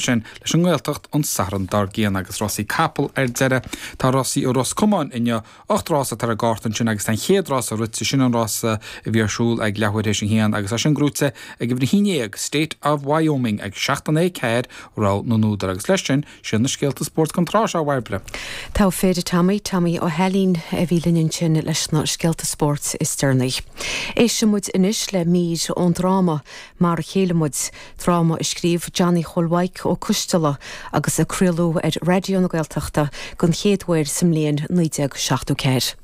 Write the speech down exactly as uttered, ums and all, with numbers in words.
Sin leis an nGaeltacht an Satharn dár gcionn agus rásaí capall ar deireadh tá rásaí i Ros Comáin inniu ocht rás atá ar an gcárta ansin agus an chéad rás rite sin an rása a bhí ar siúl ag leathuair théis a haon agus é sin gnóite ag uimhir a haon déag State of Wyoming ag seacht a naoi ceathair rogha na n-údar agus leis sin sin na scéalta spóirt don tráth seo Bhairbre. Tá féidir Tommy Tommy Ó hAilín a bhí linn sin leis na scéalta spóirt is deireanaí. Éistfimid anois le mír ón dráma mar a chéile muid, dráma a scríobh Johnny Chóil Mhaidhc Ó Coisteala agus a craoladh ar Raidió na Gaeltachta den chéad uair sa mbliain naoi déag seachtó ceathair.